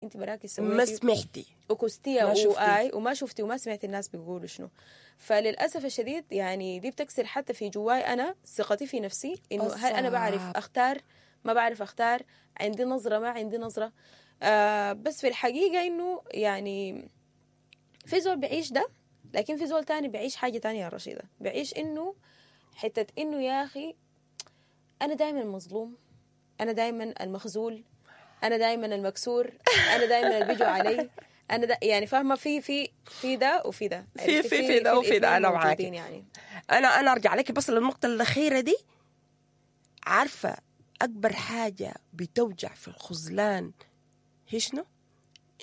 انت براكي ما سويتي سمعتي وكستيها ما شفتي. وآي وما شفتي وما سمعتي الناس بيقولوا شنو. فللاسف الشديد يعني دي بتكسر حتى في جواي انا ثقتي في نفسي، انه هل انا بعرف بالظبط. اختار ما بعرف اختار، عندي نظره ما عندي نظره. بس في الحقيقة انه يعني في زول بيعيش ده، لكن في زول تاني بيعيش حاجة تانية يا رشيده، بيعيش انه حتة انه يا اخي انا دايما مظلوم، انا دايما المخزول، انا دايما المكسور، انا دايما اللي بيجوا علي، انا دا يعني فاهمه في في في ده وفي ده، في عرفتي؟ في في ده وفي ده، الاتنين أنا معاكي. موجودين يعني. انا ارجع لك بس للنقطة الاخيرة دي. عارفه اكبر حاجة بتوجع في الخذلان هي شنو؟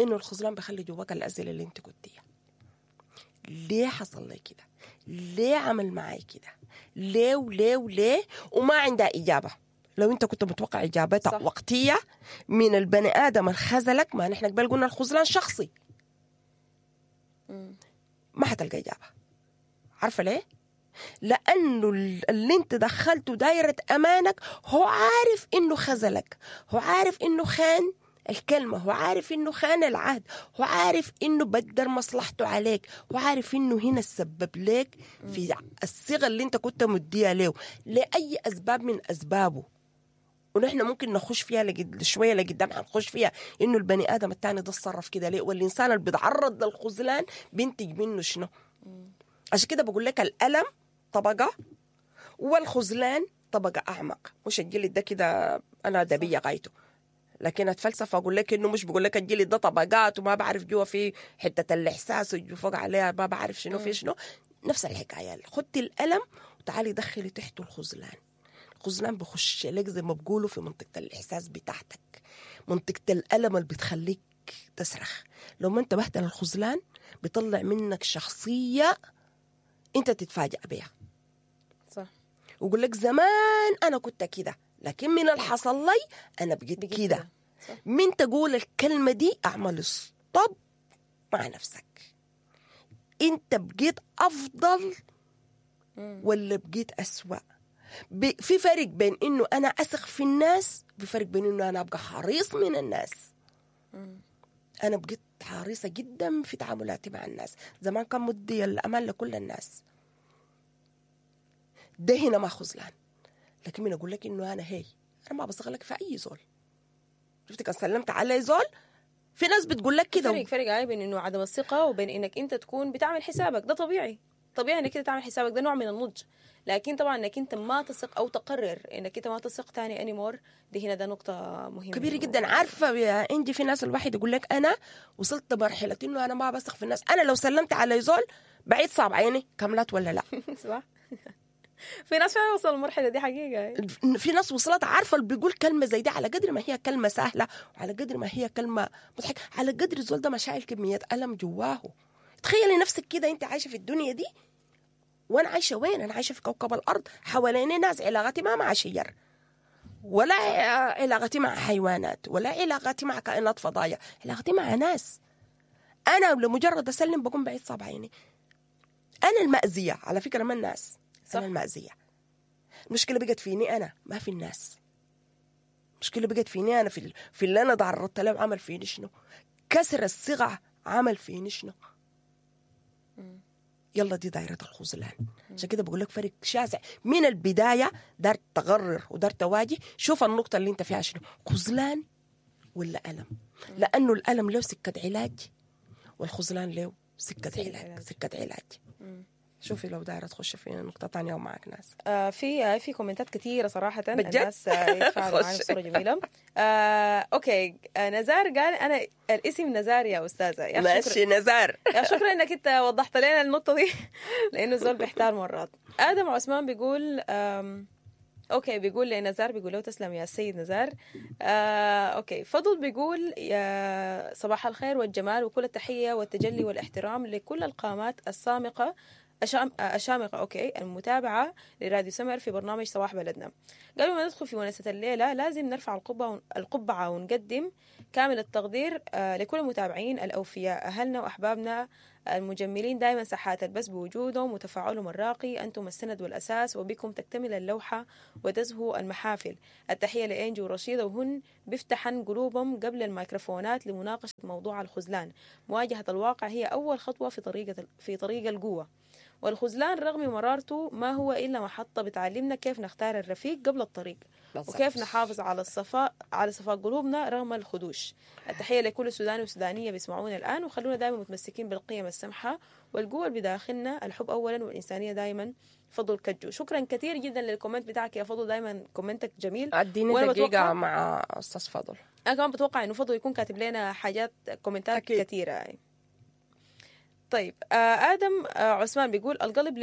انه الخذلان بيخلي جواك الاسئلة اللي انت قلتيها. ليه حصل لي كده؟ ليه عمل معي كده؟ ليه وليه وليه؟ وما عندها اجابه. لو انت كنت متوقع اجابتها صح. وقتية من البني ادم الخذلك، ما نحن قبل قلنا الخذلان شخصي، ما حتلقى اجابه. عارفه ليه؟ لانه اللي انت دخلته دايرة امانك هو عارف انه خذلك، هو عارف انه خان الكلمة، هو عارف انه خان العهد، هو عارف انه بدر مصلحته عليك، هو عارف انه هنا السبب لك في الصيغة اللي انت كنت مديها له لاي اسباب من اسبابه. ونحن ممكن نخش فيها شوية لقدام، حنخش فيها انه البني ادم الثاني ده اتصرف كده ليه، والانسان اللي بيتعرض للخذلان بينتج منه شنو. عشان كده بقول لك الالم طبقه والخذلان طبقه اعمق. مش الجلد ده كده انا ادبية غايته، لكن اتفلسف اقول لك انه مش بقول لك الجلد ده طبقات وما بعرف جوا في حتة الاحساس وجوا فوق عليها ما بعرف شنو في شنو. نفس الحكاية، خدي الالم وتعالي دخلي تحته الخذلان. الخذلان بخش لك زي ما بقولوا في منطقة الاحساس بتاعتك، منطقة الالم اللي بتخليك تصرخ. لو ما انتبهت للخذلان بيطلع منك شخصية انت تتفاجأ بيها. صح. ويقول لك زمان انا كنت كده، لكن من اللي حصل لي انا بقيت بقيت كده. كده. صح. من تقول الكلمة دي اعمل stop مع نفسك. انت بقيت افضل ولا بقيت اسوأ؟ في فرق بين انه انا اثق في الناس، في فرق بين انه انا ابقى حريص من الناس. انا بقيت حريصة جدا في تعاملاتي مع الناس. زمان كان مدي الامان لكل الناس، ده هنا ما خذلان. لكن من اقول لك انه انا هي انا ما بثق لك في اي زول. شفت كان سلمت على زول، في ناس بتقول لك كده. فرق عيب بين انه عدم الثقة وبين انك انت تكون بتعمل حسابك. ده طبيعي، طبيعي انك انت تعمل حسابك، ده نوع من النضج. لكن طبعا انك انت ما تثق او تقرر انك انت ما تثق تاني anymore، دي هنا ده نقطة مهمة كبيرة جدا. عارفه يا انجي، في ناس الواحد يقول لك انا وصلت مرحلة انه انا ما بثق في الناس، انا لو سلمت على زول بعيد صعب عيني كاملات ولا لا. صح. في ناس فعلا وصلوا المرحلة دي حقيقة. في ناس وصلت، عارفه اللي بيقول كلمة زي دي على قدر ما هي كلمة سهلة وعلى قدر ما هي كلمة مضحكة، على قدر الزول ده ما شايل كمية الم جواه. تخيلي نفسك كده انت عايشه في الدنيا دي، وانا عايشه وين؟ انا عايشه في كوكب الارض، حواليني ناس، علاقتي ما مع شجر ولا علاقتي مع حيوانات ولا علاقتي مع كائنات فضائية، علاقتي مع ناس. انا لمجرد اسلم بقوم بعيد صعب عيني. انا المأزيه على فكرة، ما الناس. صح. انا المأزيه. المشكلة بقت فيني انا، ما في الناس. المشكلة بقت فيني انا، في اللي انا تعرضت له عمل فيني شنو؟ كسر الصيغة عمل فيني شنو؟ يلا دي دائرة الخذلان. عشان كده بقول لك فرق شاسع من البداية. دار تغرر ودار تواجه، شوف النقطة اللي انت فيها شنو، خذلان ولا ألم؟ لأنه الألم له سكة علاج والخذلان له سكة علاج، سكة علاج. شوفي لو دايرة تخش في نقطة تانية ومعك ناس. في كومنتات كثيرة صراحة. بجد؟ الناس يتفاعلوا معي خش. بصورة جميلة. okay، نزار قال انا الاسم نزار يا استاذة. يا أخي شكرا، ماشي نزار. يا شكرا انك انت وضحت لنا النقطة دي، لانه الزول بيحتار مرات. ادم عثمان بيقول okay، بيقول لنزار، بيقول له تسلم يا سيد نزار. Okay، فضل بيقول يا صباح الخير والجمال وكل التحية والتجلي والاحترام لكل القامات السامقة الشامخة okay المتابعة لراديو سمر في برنامج صباح بلدنا. قبل ما ندخل في ونسة الليلة لازم نرفع القبعة ونقدم كامل التقدير لكل المتابعين الأوفياء، أهلنا وأحبابنا المجملين دائما ساحات البث بوجودهم وتفاعلهم الراقي. أنتم السند والأساس، وبكم تكتمل اللوحة وتزهو المحافل. التحية لإنجي ورشيدة، وهن بيفتحن قلوبهم قبل الميكروفونات لمناقشة موضوع الخذلان. مواجهة الواقع هي أول خطوة في طريق القوة، والخذلان رغم مرارته ما هو إلا محطة بتعلمنا كيف نختار الرفيق قبل الطريق، وكيف نحافظ على صفاء قلوبنا رغم الخدوش. التحية لكل سوداني وسودانية بيسمعونا الآن، وخلونا دائما متمسكين بالقيم السمحة والقوة اللي بداخلنا، الحب أولا والإنسانية دائما. فضل كجو، شكرا كثير جدا لل comment بتاعك يا فضل، دائما comment ك جميل. اديني دقيقة مع أستاذ فضل. أنا كمان بتوقع إنه فضل يكون كاتب لنا حاجات comment ات كثيرة يعني. طيب آدم عثمان بيقول القلب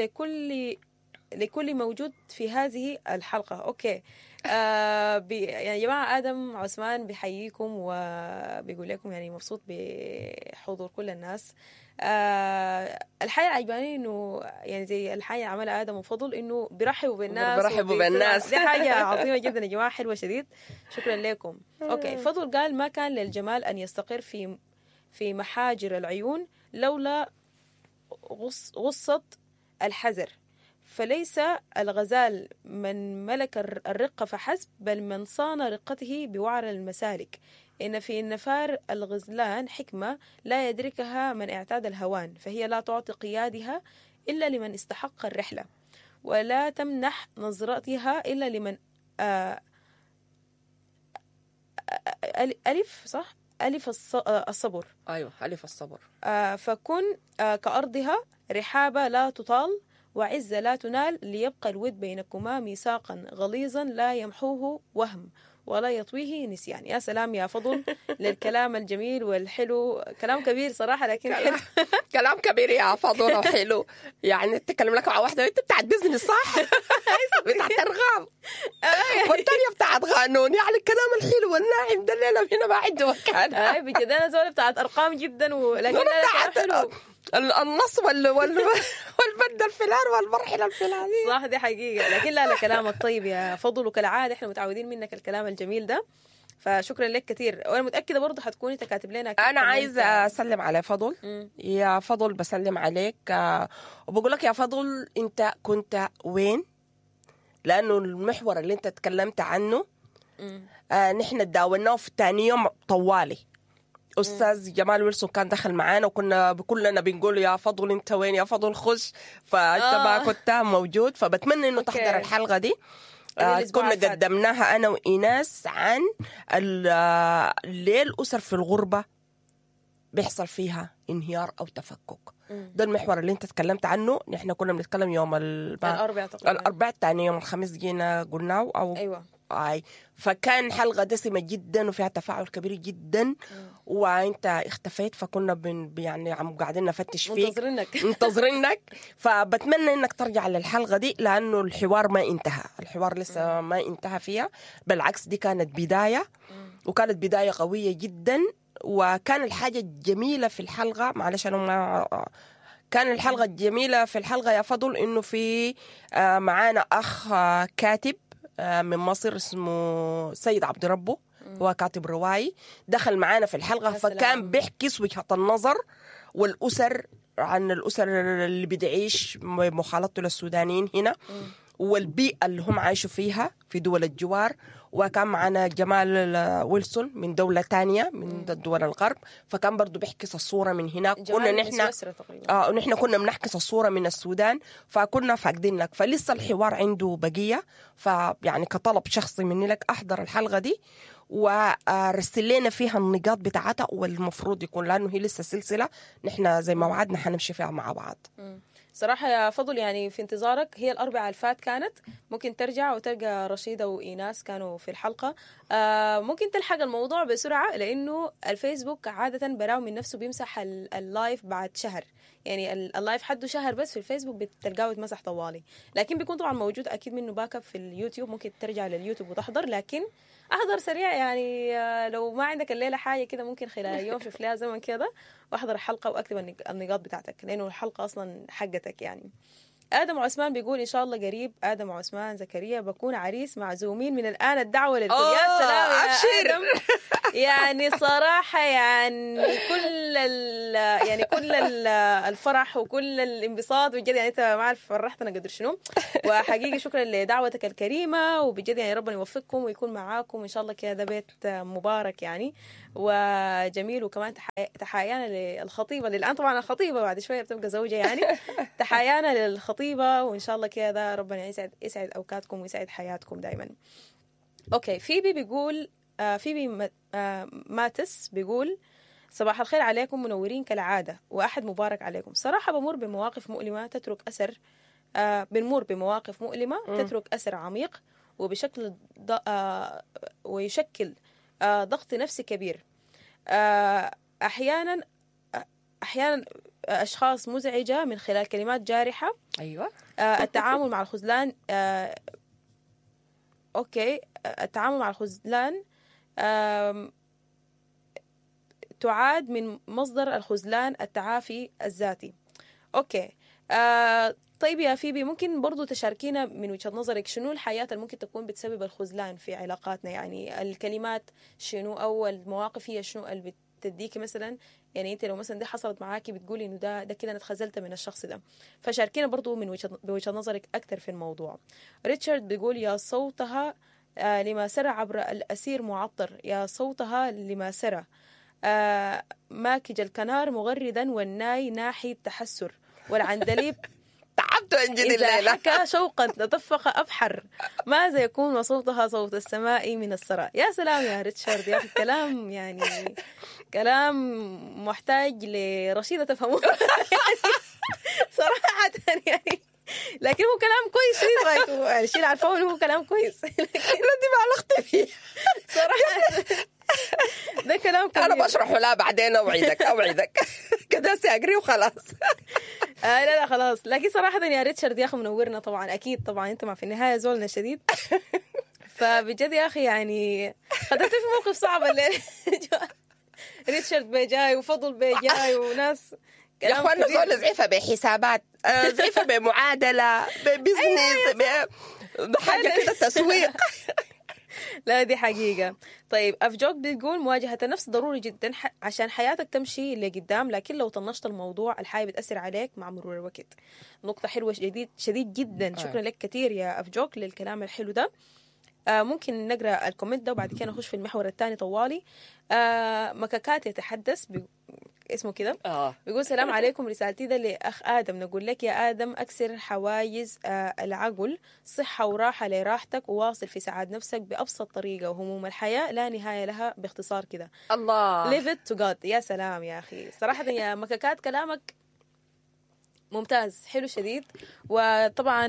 لكل موجود في هذه الحلقة. okay يعني يا جماعة آدم عثمان بيحييكم وبيقول لكم يعني مبسوط بحضور كل الناس. الحاجة عجباني إنه يعني زي الحاجة عملها آدم وفضل إنه بيرحبوا بالناس، بيرحبوا بالناس، دي حاجة عظيمة جدا يا جماعة، حلوة شديد، شكرا لكم. okay فضل قال ما كان للجمال أن يستقر في محاجر العيون لولا غصة الحذر، فليس الغزال من ملك الرقة فحسب، بل من صان رقته بوعر المسالك. إن في النفار الغزلان حكمة لا يدركها من اعتاد الهوان، فهي لا تعطي قيادها إلا لمن استحق الرحلة، ولا تمنح نظرتها إلا لمن ألف صح؟ ألف الصبر. أيوة ألف الصبر. فكن كأرضها رحابة لا تطال وعزة لا تنال، ليبقى الود بينكما ميثاقا غليظا لا يمحوه وهم ولا يطويه نسيان. يا سلام يا فضل للكلام الجميل والحلو، كلام كبير صراحة لكن حلو. كلام كبير يا فضل وحلو. يعني تتكلم لك مع واحدة انت بتاعت business صح؟ بتاعت ارغام، والثانية بتاعت قانون، يعني الكلام الحلو والناعم ده الليلة هنا ما عنده مكان. اي بجد انا زولة بتاعت ارقام جدا، ولكن حلو النص والبند الفلان والمرحلة الفلانية صح، دي حقيقة. لكن لا كلامك طيب يا فضل، وكالعادة احنا متعودين منك الكلام الجميل ده، فشكرا لك كثير. وانا متأكدة برضه حتكوني انت كاتب لنا. انا عايزة اسلم على فضل. يا فضل بسلم عليك وبقول لك يا فضل انت كنت وين؟ لانه المحور اللي انت تكلمت عنه نحن تداولناه في ثاني يوم طوالي. أستاذ جمال ويلسون كان دخل معانا وكنا كلنا بنقول يا فضل انت وين، يا فضل خش، فانت ما كنت موجود. فبتمنى انه تحضر الحلقة دي. كنا قدمناها انا وإيناس عن ليه الأسر في الغربة بيحصل فيها انهيار او تفكك. ده المحور اللي انت تكلمت عنه. نحن كنا بنتكلم يوم الاربعاء تقريبا، الاربعاء الثاني يوم الخميس جينا قلناه او ايوه اي. فكان حلقة دسمة جدا وفيها تفاعل كبير جدا، وانت اختفيت، فكنا يعني عم قاعدين نفتش فيك، منتظرينك منتظرينك. فبتمنى انك ترجع للحلقة دي لانه الحوار ما انتهى، الحوار لسه ما انتهى فيها، بالعكس دي كانت بداية، وكانت بداية قوية جدا. وكان الحاجة الجميلة في الحلقة، معلش انا ما كان الحلقة الجميلة في الحلقة يا فضل انه في معانا اخ كاتب من مصر اسمه سيد عبد ربه، هو كاتب روائي، دخل معانا في الحلقة، فكان بيحكي وجهة النظر والأسر، عن الأسر اللي بتعيش مخالطته للسودانيين هنا والبيئة اللي هم عايشوا فيها في دول الجوار. وكان معنا جمال ويلسون من دولة تانية من دول الغرب، فكان برضو بيحكي الصورة من هناك. كنا نحن نحن كنا بنحكي الصورة من السودان، فكنا فاقدين لك، فلسه الحوار عنده بقية. فيعني كطلب شخصي مني لك أحضر الحلقة دي ورسل لنا فيها النقاط بتاعتها والمفروض يكون، لأنه هي لسه سلسلة نحن زي ما وعدنا حنمشي فيها مع بعض. صراحة يا فضل يعني في انتظارك. هي الأربعة الفات كانت، ممكن ترجع وتلقى رشيدة وإيناس كانوا في الحلقة. ممكن تلحق الموضوع بسرعة لأنه الفيسبوك عادة براو من نفسه بيمسح ال live بعد شهر، يعني ال live حده شهر بس في الفيسبوك بتلقاه يتمسح طوالي، لكن بيكون طبعا موجود أكيد منه backup في اليوتيوب، ممكن ترجع لليوتيوب وتحضر. لكن احضر سريع يعني، لو ما عندك الليلة حاجة كده ممكن خلال يوم شوف لها زمن كده واحضر الحلقة واكتب النقاط بتاعتك، لانه الحلقة اصلا حقتك يعني. ادم عثمان بيقول ان شاء الله قريب، ادم عثمان زكريا بكون عريس، معزومين من الان، الدعوة للكل. يا سلام يا أبشر. ادم، يعني صراحة يعني كل ال يعني كل ال الفرح وكل الانبساط بجد، يعني انت ما عارف فرحتنا قدر شنو، وحقيقي شكرا لدعوتك الكريمة، وبجد يعني ربنا يوفقكم ويكون معاكم ان شاء الله كده، بيت مبارك يعني وجميل. وكمان تحايانا للخطيبه للان، طبعا الخطيبه بعد شوية بتبقى زوجه يعني، تحايانا للخطيبه، وان شاء الله كده ربنا يسعد اوقاتكم ويسعد حياتكم دائما. okay، فيبي بيقول فيبي ماتس بيقول صباح الخير عليكم، منورين كالعادة وأحد مبارك عليكم. صراحة بمر بمواقف مؤلمة تترك أثر، بنمر بمواقف مؤلمة تترك أثر عميق وبشكل ويشكل ضغط نفسي كبير. أحيانا أشخاص مزعجة من خلال كلمات جارحة. أيوة. التعامل مع الخذلان، okay، التعامل مع الخذلان تعاد من مصدر الخذلان التعافي الذاتي. okay. طيب يا فيبي، ممكن برضو تشاركينا من وجهة نظرك شنو الحياة اللي ممكن تكون بتسبب الخذلان في علاقاتنا؟ يعني الكلمات شنو أو المواقف هي شنو اللي بتديكي مثلا، يعني انت لو مثلا دي حصلت معاكي بتقولي انه ده كده انا اتخذلت من الشخص ده، فشاركينا برضو من بوجهة نظرك اكثر في الموضوع. ريتشارد بيقول يا صوتها لما سرى عبر الأسير معطر، يا صوتها لما سرى ماكج الكنار مغردا والناي ناحي التحسر والعندليب تعبت انجد إذا الليلة حكى شوقا تدفق أبحر، ماذا يكون وصوتها صوت السماء من الثرى. يا سلام يا ريتشارد يا أخي، كلام يعني كلام محتاج لرشيدة تفهمه صراحة يعني، لكن هو كلام كويس شديد غايته، يعني الشيء اللي عارفاه انه هو كلام كويس. لا دي بالغت فيه صراحة ده كلام كبير. انا بشرحه لا بعدين، اوعدك كده ساقري وخلاص. لا لا خلاص، لكن صراحة يا ريتشارد يا اخي منورنا طبعا، اكيد طبعا انت ما في النهاية زولنا شديد، فبجد يا اخي يعني خدت في موقف صعب الليلة. ريتشارد بيجاي وفضل بيجاي وناس يا اخوانا، زول زعيفه بحسابات، زعيفه بمعادله، ب business، بحاجة كده تسويق. لا دي حقيقة. طيب أفجوك بتقول مواجهة النفس ضروري جدا عشان حياتك تمشي لقدام، لكن لو طنشت الموضوع الحياة بتأثر عليك مع مرور الوقت. نقطة حلوة شديد جدا، شكرا لك كثير يا أفجوك للكلام الحلو ده. ممكن نقرأ ال comment ده وبعد كده نخش في المحور الثاني طوالي. مكاكات يتحدث اسمه كده، بيقول سلام عليكم، رسالتي ده لأخ آدم، نقول لك يا آدم أكسر حواجز العقل، صحة وراحة لراحتك، وواصل في سعاد نفسك بأبسط طريقة، وهموم الحياة لا نهاية لها، باختصار كده الله leave it to God. يا سلام يا أخي، صراحة يا مكاكات كلامك ممتاز حلو شديد. وطبعا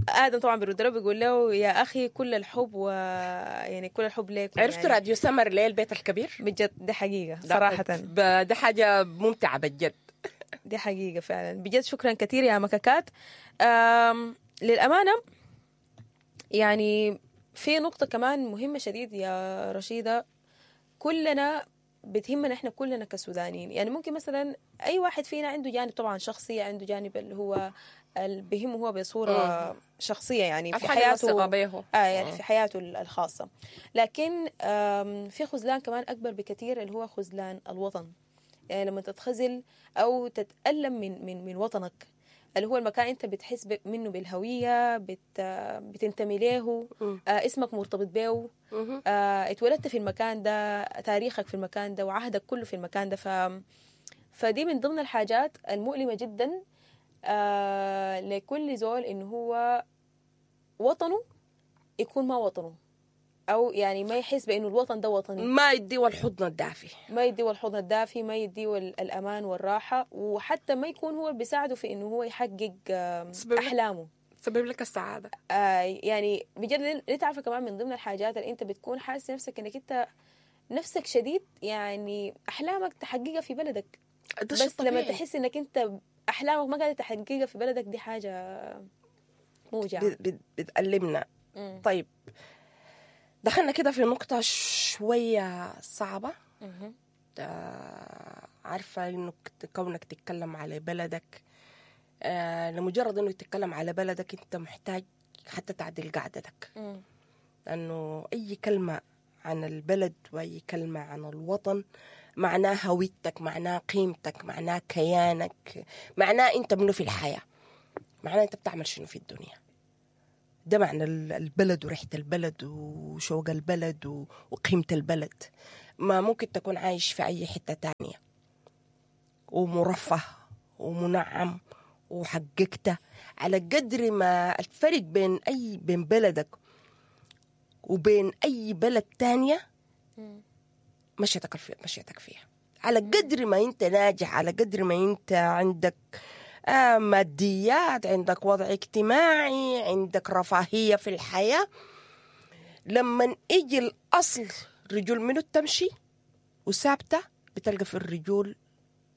آدم طبعا بيرد له بيقول له يا أخي كل الحب، ويعني كل الحب لك. عرفتوا يعني راديو سمر ليه البيت الكبير؟ بجد دي حقيقة صراحة، ده حاجة ممتعة بجد، دي حقيقة فعلا بجد. شكرا كثير يا مكاكات. للأمانة يعني في نقطة كمان مهمة شديد يا رشيدة، كلنا بتهمنا احنا كلنا كسودانيين، يعني ممكن مثلا اي واحد فينا عنده جانب طبعا شخصي، عنده جانب اللي هو اللي بيهمه هو بصورة شخصية يعني في حياته، يعني في حياته الخاصة، لكن في خذلان كمان أكبر بكثير اللي هو خذلان الوطن. يعني لما تتخذل أو تتألم من من من وطنك اللي هو المكان أنت بتحس منه بالهوية، بتنتمي له، اسمك مرتبط به، اتولدت في المكان ده، تاريخك في المكان ده، وعهدك كله في المكان ده. فدي من ضمن الحاجات المؤلمة جدا لكل زول، إنه هو وطنه يكون ما وطنه، أو يعني ما يحس بإنه الوطن ده وطني، ما يديه الحضن الدافي، ما يديه الحضن الدافي، ما يديه الأمان والراحة، وحتى ما يكون هو بيساعده في إنه هو يحقق أحلامه، تسبب لك السعادة. يعني بجد ليه تعرف كمان من ضمن الحاجات اللي أنت بتكون حاسس نفسك إنك أنت نفسك شديد، يعني أحلامك تحققها في بلدك، بس لما تحس إنك أنت أحلامك ما قاعدة تحققها في بلدك، دي حاجة موجعة، بتألمنا. طيب دخلنا كده في نقطة شوية صعبة. عارفة إنه كونك تتكلم على بلدك، لمجرد إنه تتكلم على بلدك أنت محتاج حتى تعدل قعدتك، لأنه أي كلمة عن البلد وأي كلمة عن الوطن معناها هويتك، معناها قيمتك، معناها كيانك، معناها أنت منو في الحياة، معناها أنت بتعمل شنو في الدنيا. ده معنى البلد وريحة البلد وشوق البلد وقيمة البلد. ما ممكن تكون عايش في أي حتة تانية ومرفه ومنعم وحققته، على قدر ما الفرق بين أي بين بلدك وبين أي بلد تانية مشيتك فيها، على قدر ما أنت ناجح، على قدر ما أنت عندك ماديات، عندك وضع اجتماعي، عندك رفاهية في الحياة. لما يجي الأصل رجل منو تمشي وثابتة، بتلقى في الرجول،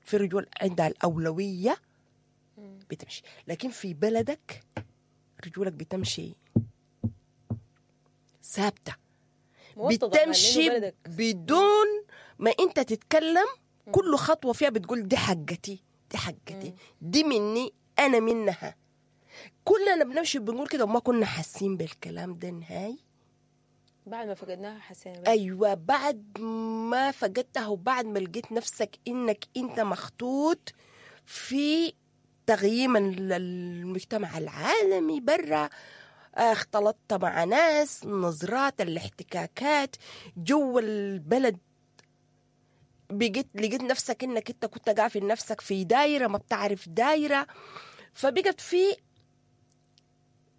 في رجول عندها الأولوية بتمشي. لكن في بلدك رجولك بتمشي ثابتة، بتمشي بدون ما انت تتكلم، كل خطوة فيها بتقول دي حقتي، دي حقتي، دي مني، أنا منها. كلنا بنمشي بنقول كده وما كنا حاسين بالكلام ده نهائي. بعد ما فقدناها حسينا. أيوة، بعد ما فقدتها وبعد ما لقيت نفسك إنك أنت مخطوط في تغييم المجتمع العالمي برا، اختلطت مع ناس، نظرات، الاحتكاكات جوا البلد، بقيت لقيت نفسك انك انت كنت قافل نفسك في دايرة ما بتعرف دايرة. فبقت في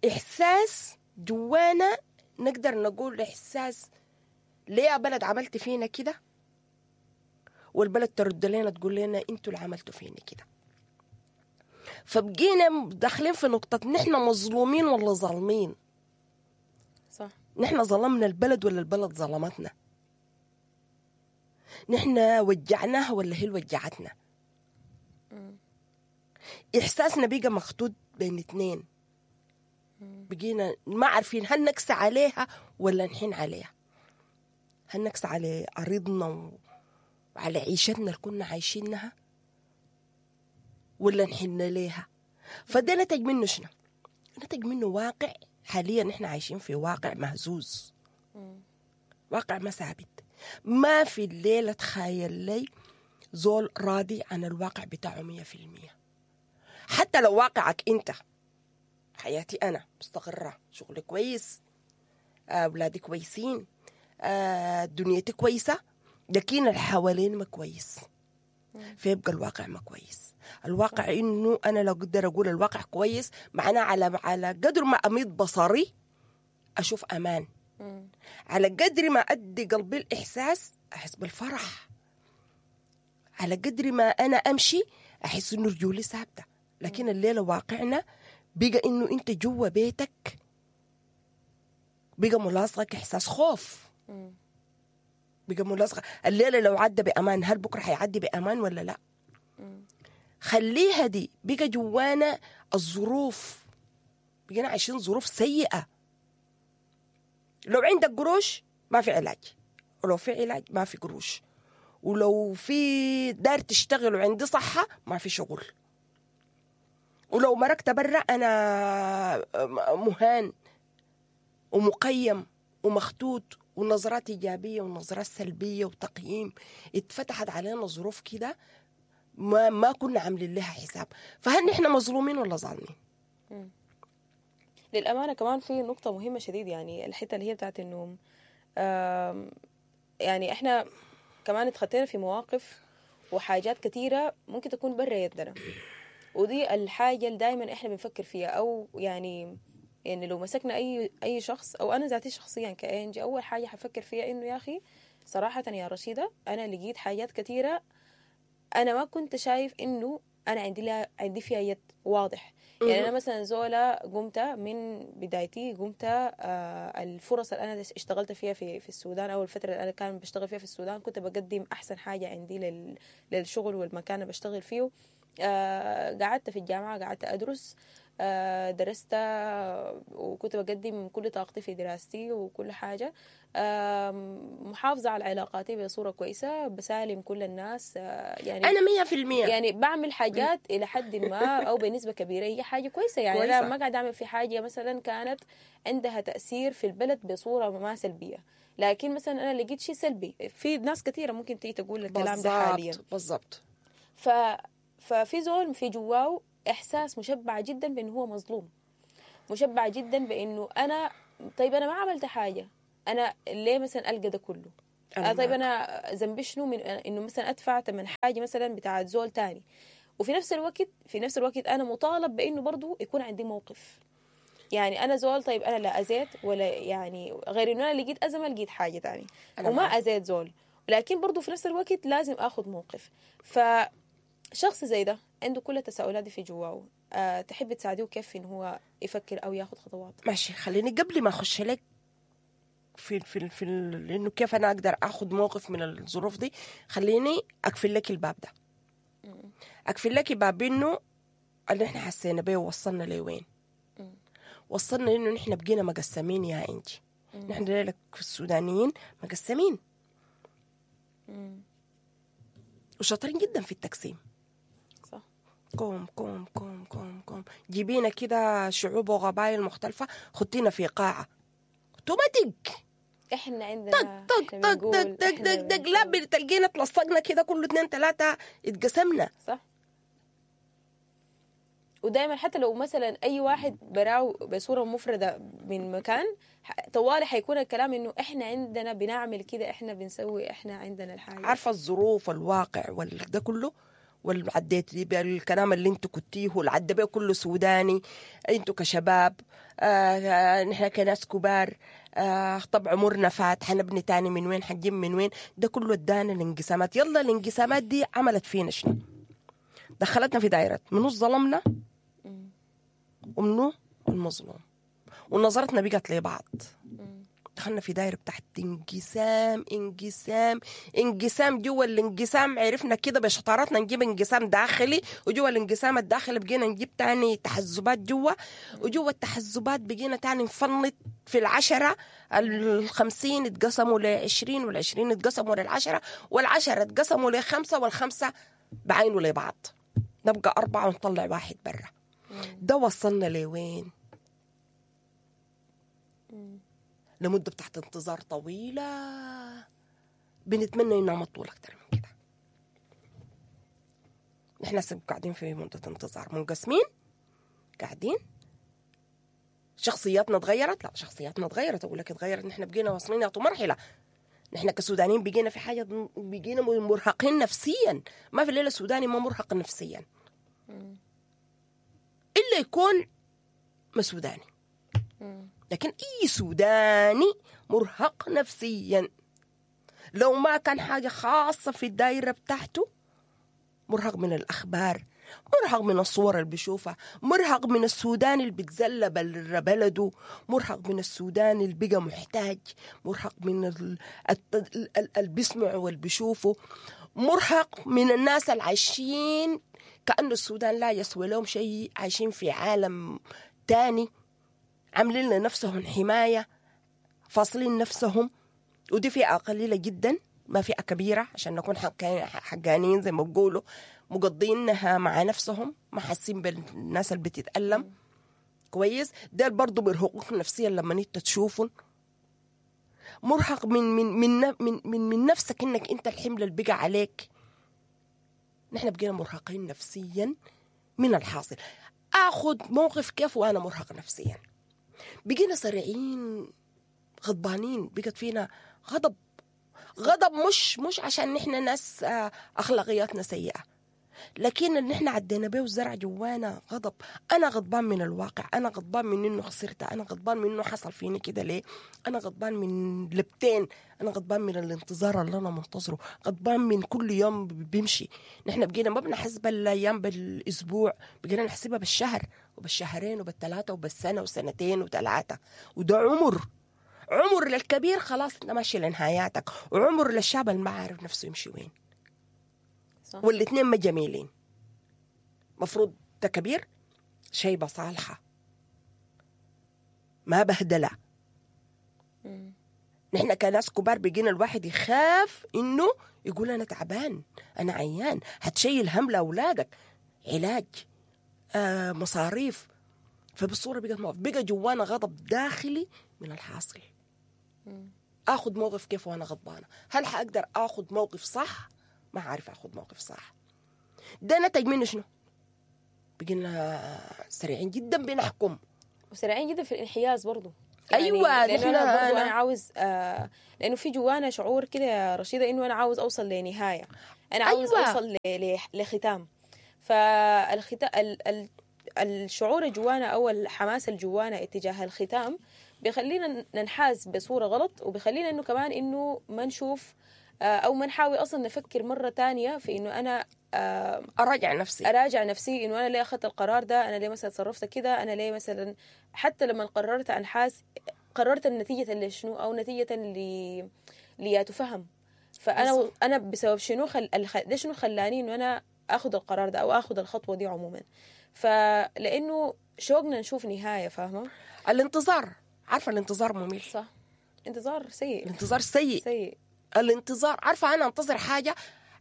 احساس جوانا، نقدر نقول احساس ليه يا بلد عملت فينا كده، والبلد ترد لنا تقول لنا انتوا اللي عملتوا فينا كده. فبقينا داخلين في نقطة نحن مظلومين ولا ظالمين؟ صح، نحن ظلمنا البلد ولا البلد ظلمتنا؟ نحن وجعناها ولا هي وجعتنا؟ إحساسنا بقى مخطوط بين اتنين، بقينا ما عارفين هل نكسى عليها ولا نحن عليها، هل نكسى على أرضنا وعلى عيشتنا اللي كنا عايشينها ولا نحن ليها. فده نتج منه شنو؟ نتج منه واقع حاليا نحن عايشين في واقع مهزوز، واقع ما ثابت. ما في الليلة تخيل لي زول راضي عن الواقع بتاعه 100%. حتى لو واقعك انت، حياتي انا مستقرة، شغلي كويس، اولادي كويسين، دنيتي كويسة، لكن الحوالين ما كويس، فيبقى الواقع ما كويس. الواقع انه انا لو اقدر اقول الواقع كويس، معناه على قدر ما اميض بصري اشوف امان، على قدر ما ادي قلبي الاحساس احس بالفرح، على قدر ما انا امشي احس انه رجولي ثابتة. لكن الليلة واقعنا بقى انه انت جوا بيتك بقى ملاصقك احساس خوف، بقى ملاصقه. الليلة لو عدى بامان، هل بكره حيعدي بامان ولا لا؟ خليها دي. بقى جوانا الظروف، بقينا عايشين ظروف سيئه. لو عندك قروش ما في علاج، ولو في علاج ما في قروش، ولو في دار تشتغل وعندي صحة ما في شغل، ولو مرقت برا أنا مهان ومقيم ومخطوط، ونظرات إيجابية ونظرات سلبية وتقييم. اتفتحت علينا ظروف كده ما كنا عاملين لها حساب. فهل نحن مظلومين ولا ظالمين؟ للأمانة كمان في نقطة مهمة شديد، يعني الحتة اللي هي بتاعت إنه يعني إحنا كمان اتخطينا في مواقف وحاجات كثيرة ممكن تكون برا يدنا، ودي الحاجة اللي دايما إحنا بنفكر فيها. أو يعني لو مسكنا أي شخص، أو أنا ذاتي شخصيا كأنجي، أول حاجة حفكر فيها إنه يا أخي صراحة يا رشيدة أنا لقيت حاجات كثيرة أنا ما كنت شايف إنه أنا عندي فيها يد واضح. يعني أنا مثلا زولا قمت من بدايتي، قمت الفرص اللي أنا اشتغلت فيها في السودان، أو الفترة اللي أنا كان بشتغل فيها في السودان، كنت بقدم أحسن حاجة عندي للشغل والمكان اللي بشتغل فيه. قعدت في الجامعة، قعدت أدرس، درست، وكنت بقدم كل طاقتي في دراستي وكل حاجة. محافظة على علاقاتي بصورة كويسة، بسالم كل الناس، يعني انا 100%. يعني بعمل حاجات الى حد ما او بنسبة كبيرة هي حاجة كويسة. يعني كويسة. انا ما قاعد اعمل في حاجة مثلا كانت عندها تاثير في البلد بصورة ما سلبية، لكن مثلا انا لقيت شيء سلبي في ناس كثيرة ممكن تيجي تقول الكلام ده حاليا. بالضبط. ففي زول في جواه احساس مشبع جدا بانه هو مظلوم، مشبع جدا بانه انا طيب انا ما عملت حاجة، انا ليه مثلا القى ده كله؟ أنا طيب معك. انا ذنبي شنو من انه مثلا ادفع ثمن حاجة مثلا بتاعت زول تاني؟ وفي نفس الوقت انا مطالب بانه برضو يكون عندي موقف. يعني انا زول طيب انا لا اذيت ولا يعني غير انه انا لقيت ازمة لقيت حاجة تاني أنا وما معك. اذيت زول، لكن برضو في نفس الوقت لازم اخذ موقف. فشخص زي ده عنده كل التساؤلات دي في جواه، تحب تساعديه كيف انه هو يفكر او ياخذ خطوات؟ ماشي، خليني قبل ما اخش لك في في في انه كيف انا اقدر اخذ موقف من الظروف دي، خليني اقفل لك الباب ده. اقفل لك باب انه اللي احنا حسينا بيه ووصلنا لوين. وصلنا انه نحن بقينا مقسمين يا انجي. نحن لك السودانيين مقسمين وشاطرين جدا في التقسيم. صح. كوم كوم كوم كوم كوم، جيبينا كده شعوب وقبائل مختلفة، خطينا في قاعة اوتوماتيك احنا عندنا طق طق طق طق طق طق طق، لا بتلقينا تلصقنا كده كله 2 3 اتقسمنا. صح. ودائما حتى لو مثلا اي واحد براو بصورة مفرده من مكان، طوالي حيكون الكلام انه احنا عندنا بنعمل كده، احنا بنسوي، احنا عندنا الحاجة. عارفه الظروف والواقع وده كله والعديت دي بالكلام اللي انتوا كنتيه والعدى بيه كله سوداني، انتوا كشباب، نحن كناس كبار، طب عمرنا فات، حنبني تاني من وين، حنجيب من وين، ده كله ادانا الانقسامات. يلا الانقسامات دي عملت فينا شنو؟ دخلتنا في دائرة منو ظلمنا ومنو المظلوم، ونظرتنا بقت لبعض. دخلنا في دايرة بتاعت انقسام انقسام انقسام. جوا الانقسام عرفنا كده بشطارتنا نجيب انقسام داخلي، وجوا الانقسام الداخلي بقينا نجيب تاني تحزبات جوا، وجوا التحزبات بقينا تاني نفنط في 10، 50 اتقسموا ل20، وال20 اتقسموا لل10، وال10 اتقسموا ل5، وال5 بعينوا لبعض، نبقى 4 ونطلع 1 برا. ده وصلنا لوين؟ لمدة بتاعت انتظار طويلة بنتمنى إنها ما تطول أكتر من كده. نحن هسه قاعدين في مدة انتظار، منقسمين قاعدين، شخصياتنا تغيرت. لا شخصياتنا تغيرت، أقول لك تغيرت، نحن بقينا واصلين يعطوا مرحلة. نحن كسودانيين بقينا في حاجة، بقينا مرهقين نفسيا. ما في الليلة السوداني ما مرهق نفسيا إلا يكون ما سوداني، لكن أي سوداني مرهق نفسيا لو ما كان حاجة خاصة في الدائرة بتاعته. مرهق من الأخبار، مرهق من الصور اللي بيشوفها، مرهق من السودان اللي بيتزلى بلده، مرهق من السودان اللي بقى محتاج، مرهق من اللي بيسمعه واللي بيشوفه، مرهق من الناس اللي عايشين كأنه السودان لا يسوى لهم شيء، عايشين في عالم تاني، عاملين لنفسهم حماية، فاصلين نفسهم. ودي فئة قليلة جدا، ما فئة كبيرة عشان نكون حقانيين زي ما بقولوا، مقضينها مع نفسهم، ما حاسين بالناس اللي بتتألم. كويس، ده برضو بيرهقوك نفسيا لما انت تشوفهم. مرهق من من من من من, من نفسك، انك انت الحمل اللي بقى عليك. نحن بقينا مرهقين نفسيا من الحاصل. اخذ موقف كيف وانا مرهق نفسيا؟ بقينا سريعين، غضبانين، بقت فينا غضب. غضب مش عشان نحن ناس اخلاقياتنا سيئه، لكن اللي نحن عدينا به وزرع جوانا غضب. انا غضبان من الواقع، انا غضبان من انه خسرت، انا غضبان من انه حصل فيني كده ليه، انا غضبان من لبتين، انا غضبان من الانتظار اللي انا منتظره، غضبان من كل يوم بيمشي. نحن بقينا ما بنحسب الايام بالاسبوع، بقينا نحسبها بالشهر وبالشهرين وبالثلاثه وبالسنه وسنتين وثلاثة. وده عمر للكبير، خلاص انت ماشي لنهاياتك، وعمر للشاب اللي ما عارف نفسه يمشي وين. صح. والاثنين ما جميلين. مفروض ده كبير شيبة صالحة ما بهدلة. نحن كناس كبار بقينا الواحد يخاف انه يقول انا تعبان، انا عيان، هتشيل هم لاولادك، علاج، مصاريف. فبالصوره بقت موقف، بقى جوانا غضب داخلي من الحاصل. اخذ موقف كيف وانا غضبانه؟ هل حاقدر اخذ موقف صح؟ ما عارف اخذ موقف صح. ده نتج منه شنو؟ بقينا سريعين جدا بنحكم، وسريعين جدا في الانحياز برضو. أيوة، يعني نحن انا برضو انا عاوز لانه في جوانا شعور كده يا رشيده انه انا عاوز اوصل لنهاية، انا عاوز أيوة. اوصل لختام. فالختام الشعور جوانا او الحماس الجوانا اتجاه الختام بيخلينا ننحاز بصورة غلط، وبيخلينا انه كمان انه ما نشوف او ما نحاول اصلا نفكر مرة تانية في انه انا اراجع نفسي، اراجع نفسي انه انا ليه اخذت القرار ده، انا ليه مثلا تصرفت كده، انا ليه مثلا حتى لما قررت انحاز قررت النتيجة لشنو او نتيجة ليتفهم. فانا انا بسبب شنو ده شنو خلاني انه انا اخذ القرار ده او اخذ الخطوة دي عموما. فلانه شوقنا نشوف نهاية، فاهمه؟ الانتظار، عارفه الانتظار ممل، صح؟ انتظار سيء، الانتظار سيء سيء الانتظار. عارفه انا انتظر حاجة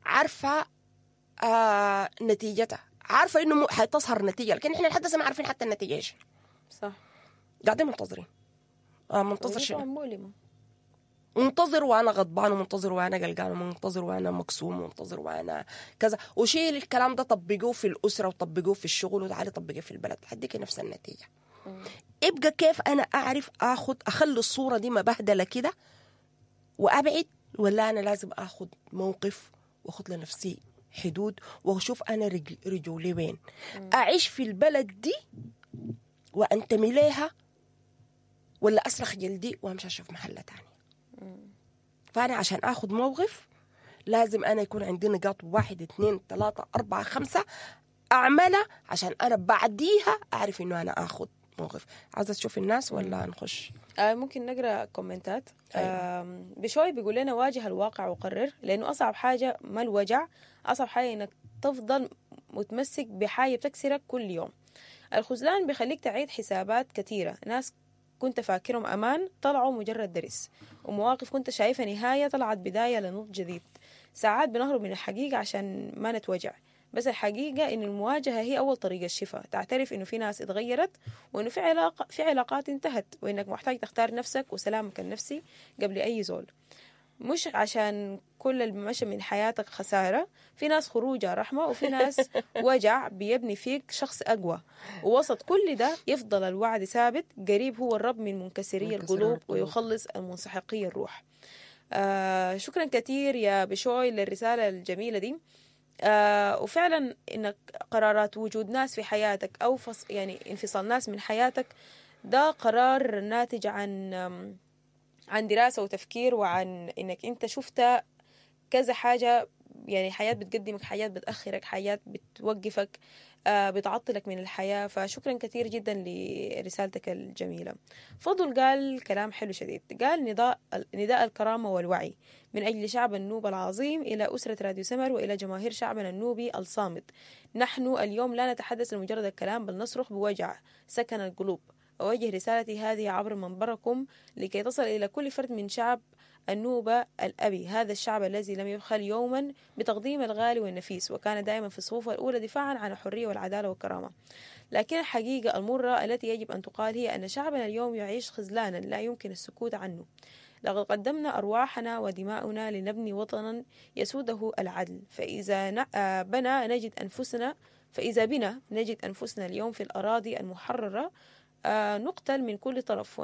عارفه نتيجتها، عارفه انه حتظهر نتيجة، لكن احنا لحد هسه ما عارفين حتى النتيجة ايش. صح، قاعدين منتظرين. منتظر شنو؟ مؤلمة. منتظر وانا غضبان، ومنتظر وانا قلقان، ومنتظر وانا مكسوم، ومنتظر وانا كذا. وشيل الكلام ده طبقوه في الاسرة، وطبقوه في الشغل، وتعالي طبقية في البلد، حديك نفس النتيجة. ابقى كيف انا اعرف اخذ اخلي الصورة دي مبهدله كده وابعد، ولا انا لازم اخذ موقف واخذ لنفسي حدود واشوف انا رجولي وين؟ اعيش في البلد دي وانتمي ليها، ولا اسرخ جلدي وامشي اشوف محله تانية؟ فانا عشان اخذ موقف لازم انا يكون عندي نقاط 1 2 3 4 5 اعملها عشان انا بعديها اعرف انه انا اخذ موقف. عايزه تشوف الناس ولا نخش؟ ممكن نقرا كومنتات. أيوة. بشوي بيقول لنا واجه الواقع وقرر، لانه اصعب حاجة ما الوجع، اصعب حاجة انك تفضل متمسك بحاجة بتكسرك كل يوم. الخذلان بيخليك تعيد حسابات كثيرة، ناس كنت فاكرهم امان طلعوا مجرد درس، ومواقف كنت شايفها نهاية طلعت بداية لنضج جديد. ساعات بنهرب من الحقيقة عشان ما نتوجع، بس الحقيقة إن المواجهة هي أول طريقة الشفاء. تعترف إنه في ناس اتغيرت، وإنه في علاقات انتهت، وإنك محتاج تختار نفسك وسلامك النفسي قبل أي زول. مش عشان كل اللي مشى من حياتك خسارة، في ناس خروجها رحمة، وفي ناس وجع بيبني فيك شخص أقوى. ووسط كل ده يفضل الوعد ثابت، قريب هو الرب من منكسري القلوب ويخلص المنسحقي الروح. شكرا كثير يا بشوي للرسالة الجميلة دي. وفعلا انك قرارات وجود ناس في حياتك او يعني انفصال ناس من حياتك، ده قرار ناتج عن دراسة وتفكير، وعن انك انت شفت كذا حاجة. يعني حياة بتقدمك، حياة بتأخرك، حياة بتوقفك، بتعطلك من الحياة. فشكرا كثير جدا لرسالتك الجميلة. فضل قال كلام حلو شديد، قال نداء الكرامة والوعي من أجل شعب النوبة العظيم إلى أسرة راديو سمر وإلى جماهير شعبنا النوبي الصامت. نحن اليوم لا نتحدث لمجرد الكلام، بل نصرخ بوجع سكن القلوب. أوجه رسالتي هذه عبر منبركم لكي تصل إلى كل فرد من شعب النوبة الأبي، هذا الشعب الذي لم يبخل يوما بتقديم الغالي والنفيس، وكان دائما في الصفوف الأولى دفاعا عن الحرية والعدالة والكرامة. لكن الحقيقة المرة التي يجب أن تقال هي أن شعبنا اليوم يعيش خذلانا لا يمكن السكوت عنه. لقد قدمنا أرواحنا ودماؤنا لنبني وطنا يسوده العدل، فإذا بنا نجد أنفسنا اليوم في الأراضي المحررة، نقتل من كل طرف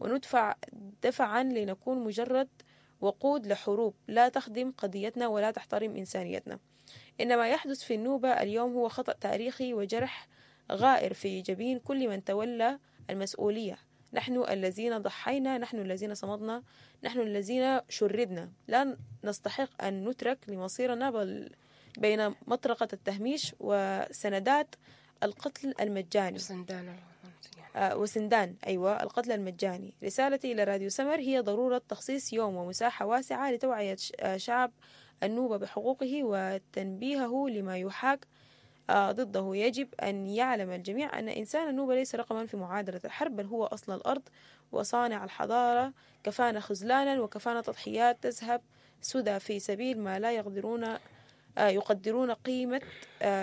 وندفع دفعا لنكون مجرد وقود لحروب لا تخدم قضيتنا ولا تحترم إنسانيتنا. إنما يحدث في النوبة اليوم هو خطأ تاريخي وجرح غائر في جبين كل من تولى المسؤولية. نحن الذين ضحينا، نحن الذين صمدنا، نحن الذين شردنا، لا نستحق أن نترك لمصيرنا بل بين مطرقة التهميش وسندات القتل المجاني وسندان أيوة القتل المجاني. رسالتي إلى راديو سمر هي ضرورة تخصيص يوم ومساحة واسعة لتوعية شعب النوبة بحقوقه وتنبيهه لما يحاك ضده. يجب أن يعلم الجميع أن إنسان النوبة ليس رقما في معادلة الحرب، بل هو أصل الأرض وصانع الحضارة. كفانا خذلانا وكفانا تضحيات تذهب سدى في سبيل ما لا يقدرون قيمة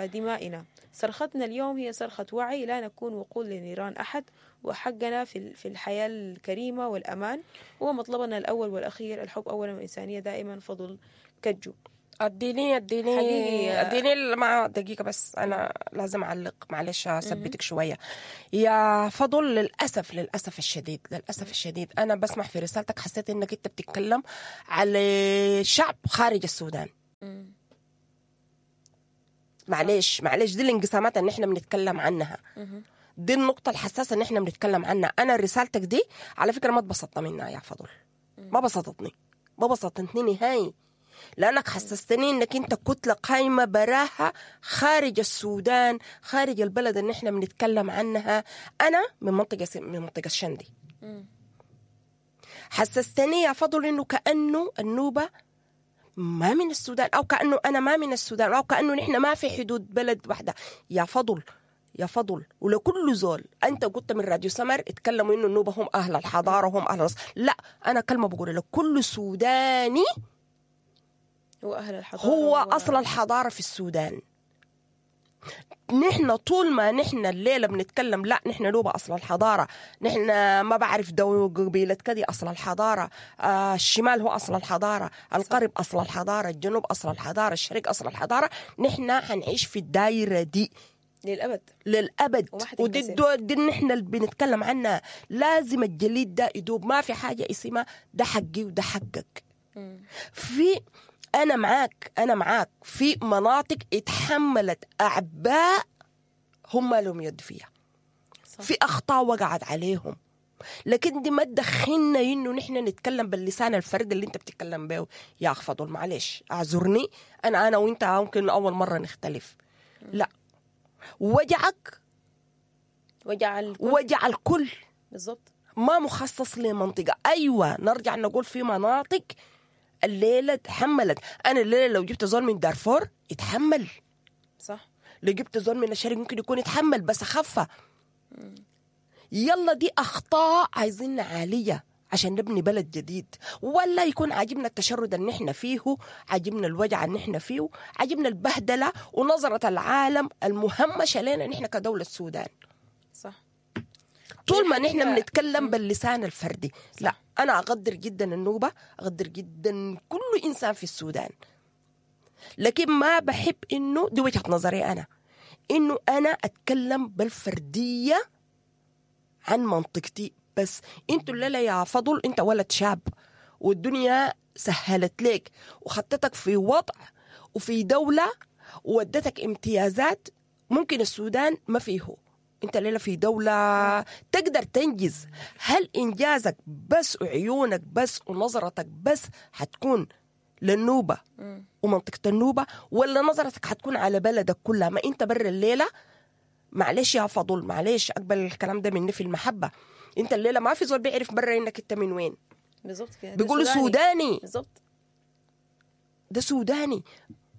دمائنا. صرختنا اليوم هي صرخة وعي، لا نكون وقود لنيران أحد، وحقنا في الحياة الكريمة والأمان هو مطلبنا الأول والأخير. الحب أولا والإنسانية دائما. فضل كجو. اديني اديني اديني مع دقيقة بس، أنا لازم أعلق، معلش أثبتك شوية يا فضل. للأسف للأسف الشديد للأسف الشديد أنا بسمع في رسالتك حسيت إنك أنت بتتكلم على شعب خارج السودان. معلش معلش، دي الانقسامات اللي احنا بنتكلم عنها، دي النقطة الحساسة اللي احنا بنتكلم عنها. أنا رسالتك دي على فكرة ما اتبسطت منها يا فضل، ما بسطتني ما بسطتني نهائي، لأنك حسستني إنك أنت كتلة قايمة براها خارج السودان، خارج البلد اللي احنا بنتكلم عنها. أنا من منطقة شندي. حسستني يا فضل إنه كأنه النوبة ما من السودان، أو كأنه أنا ما من السودان، أو كأنه نحن ما في حدود بلد واحدة. يا فضل يا فضل، ولكل زول أنت قلت من راديو سمر اتكلموا إنه النوبة هم أهل الحضارة هم أهل الرص. لا، أنا كلمة بقول لك، كل سوداني هو أهل الحضارة، هو أصل الحضارة في السودان. نحن طول ما نحن الليلة بنتكلم لا نحن نوبة أصل الحضارة، نحن ما بعرف دو قبيلة كذي أصل الحضارة، الشمال هو أصل الحضارة، الغرب أصل الحضارة، الجنوب أصل الحضارة، الشرق أصل الحضارة. نحن حنعيش في الدائرة دي للأبد للأبد، ودي الدول دي نحن اللي بنتكلم عنها. لازم الجليد ده يدوب، ما في حاجة اسمها ده حقي وده حقك. في أنا معاك، أنا معاك في مناطق اتحملت أعباء هم لهم يد فيها، صح. في أخطاء وقعت عليهم، لكن دي ما تدخلنا إنه نحن نتكلم باللسان الفرد اللي أنت بتتكلم به يا أخ فضل. معلش أعذرني، أنا وأنت ممكن أول مرة نختلف. لا، وجعك وجع الكل، وجع الكل بالضبط، ما مخصص لمنطقة. أيوة نرجع نقول في مناطق الليلة تحملت. أنا الليلة لو جبت زول من دارفور يتحمل، صح. لو جبت زول من الشرق ممكن يكون يتحمل بس خفة. يلا دي أخطاء عايزين نعالجها عشان نبني بلد جديد. ولا يكون عاجبنا التشرد اللي نحن فيه، عاجبنا الوجع اللي نحن فيه، عاجبنا البهدلة ونظرة العالم المهمشة لنا نحن كدولة السودان، صح. طول ما نحن بنتكلم باللسان الفردي. صح. لا، أنا أقدر جدا النوبة، أقدر جدا كل إنسان في السودان، لكن ما بحب إنه دي وجهة نظري أنا، إنه أنا أتكلم بالفردية عن منطقتي بس. أنتوا الليلة يا فضل أنت ولد شاب والدنيا سهلت لك وخطتك في وضع وفي دولة وودتك امتيازات ممكن السودان ما فيه. انت الليلة في دولة تقدر تنجز. هل إنجازك بس وعيونك بس ونظرتك بس حتكون للنوبة ومنطقة النوبة، ولا نظرتك حتكون على بلدك كلها؟ ما انت بر الليلة، معلش يا فضل، معلش أقبل الكلام ده مني في المحبة، انت الليلة ما في زول بيعرف برا انك انت من وين بالضبط كده. بيقولوا سوداني، بالضبط، ده سوداني